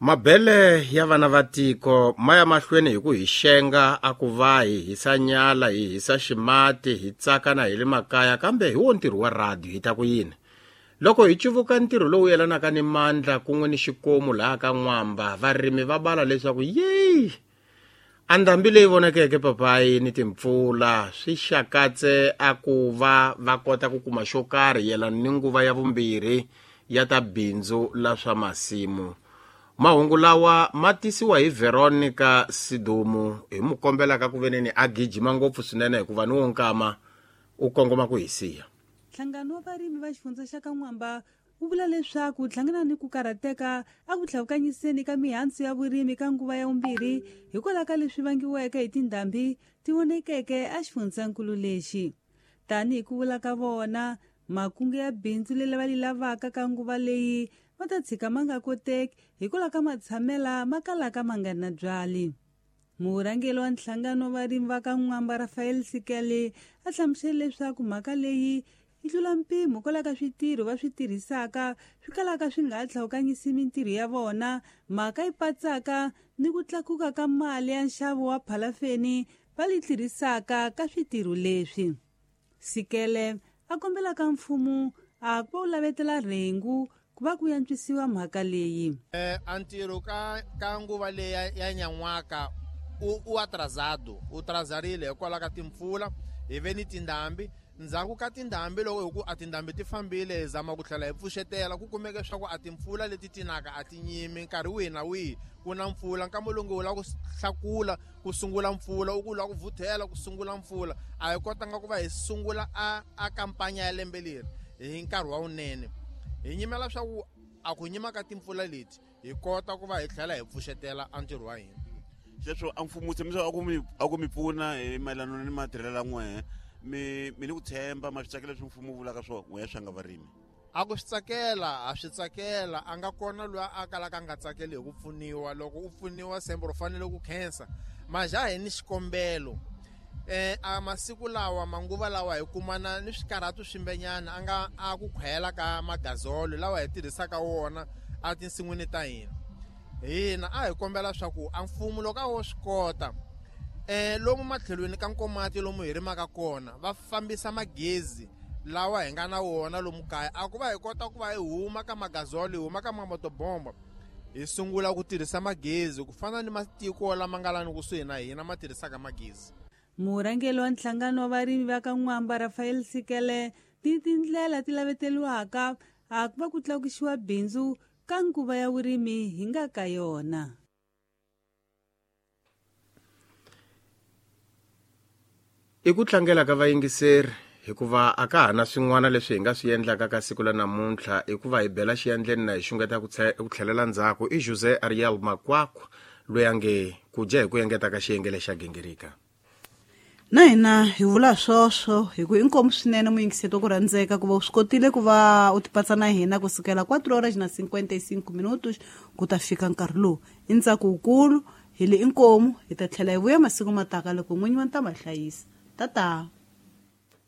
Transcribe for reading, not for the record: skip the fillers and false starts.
Mabele ya vana va tiko ma ya mahlweni hi ku hi xenga a ku va hi hisa nyala, hi hisa ximati, hi tsaka na hi le makaya, kambe hi wo ntirho wa radio hi ta ku yini? Loko hi cuvuka ntirho lowu yelanaka ni mandla kun'we ni xikomu laha ka N'wamba, varimi va bala leswaku yeyi! A ndhambi leyi vonakeke papayi ni timpfula swi xakatse a ku va va kota ku kuma xo karhi yelana ni nguva ya vumbirhi ya ta bindzu la swa masimu. Mahungu lawa ma tisiwa hi Veronica Sidumu hi mu kombelaka ku veneni a gijima ngopfu swinene hikuva ni wo nkama u kongoma ku hi siya. Nhlangano wa varimi va xifundza xa ka N'wamba wu vula leswaku wu hlangana ni ku karhateka a ku tlhavukanyiseni ka mihandzu ya vurimi ka nguva ya vumbirhi hikwalaho ka leswi vangiweke hi tindhambi ti vonekeke exifundzankulu lexi. Tanihi ku vula ka vona, makungu ya bindzu leri va li lavaka ka nguva leyi ma ta tshika ma nga koteki hikwalaho ka matshamela ma kalaka ma nga ri na byali. Murhangeri wa nhlangano wa varimi va ka N'wamba Rafael Sikele a hlamusele leswaku mhaka leyi yi tlula mpimo kwalaho ka switirho va swi tirhisaka swi kalaka swi nga ha tlhawukanyisi mintirho ya vona, mhaka yi patsaka ni ku tlakuka ka mali ya nxavo wa phalafeni va li tirhisaka ka switirho leswi. Sikele a kombela ka mfumo a ku va wu lavetela rhengu ku va ku yantswisiwa mhaka leyi. A ntirho ka ka nguva leyi ya, ya nyan'waka u, u atrasado, u trazarile hikwalaho ka timpfula, hi ve ni tindhambi. Ndzhaku ka tindhambi loko hi ku a tindhambi ti fambile hi zama ku tlhela hi pfuxetela, ku kumeke swa ku a timpfula leti ti naka a ti nyimi nkarhi wihi na wihi ku na mpfula. Nkama lowu nge u lava ku hlakula ku sungula mpfula, u ku u lava ku vuthela ku sungula mpfula. A hi kotanga ku va hi sungula a a kampanya ya lembe leri hi nkarhi wa wunene. Hi nyimela swa ku a ku nyima ka timpfula leti hi kota ku va hi tlhela hi pfuxetela a ntirho wa hina. Sweswo a mfumo wu tshembisa a ku mi a ku mi pfuna hi mayelana ni matirhelo ya n'wehe mi mi ni ku tshemba ma swi tsakela leswi mfumo wu vulaka swona n'wehe swa nga varimi. A ku swi tsakela ha swi tsakela a nga kona loyi a kalaka a nga tsakeli hi ku pfuniwa loko u pfuniwa sembe u fanele ku khensa maja hi ni xikombelo a masiku lawa manguva lawa hi kumana ni swikarhato swimbenyana a nga a ku khwela ka magazolo lawa hi tirhisaka wona a tinsin'wini ta hina hina a hi kombela swa ku a mfumo loko a wo swi kota lomu matlhelweni ka nkomati lomu hi rimaka kona va fambisa magezi lawa hi nga na wona lomu kaya a ku va hi kota ku va hi huma ka magazolo hi huma ka mamotobomba hi sungula ku tirhisa magezi ku fana ni matiko lama nga lani kusuhi na hina ma tirhisaka magezi. Murhangeri wa nhlangano wa varimi va ka N'wamba Rafael Sikele ti tindlela ti laveteriwaka a ku va ku tlakusiwa bindzu ka nguva ya vurimi hi nga ka yona. I ku tlangela ka vayingiseri hikuva a ka ha na swin'wana leswi hi nga swi endlaka ka siku la namuntlha i ku va hi bela xiyandleni na hi xungeta ku tlhelela ndzhaku i Jose Ariel Makwakwa loyi a nge ku dya hi ku engeta ka xiyenge lexa gingirika. Na hina hi vula swoswo hi ku inkomu swinene muyingiseti wa ku rhandzeka ku va u swi kotile ku va u tipatsa na hina ku sukela 4 horas na 55 minutos ku ta fika nkarhi lowu i ntsako wukulu hi le inkomu hi ta tlhela hi vuya masiku ma taka loko n'winyi wa ntama hlayisa tata.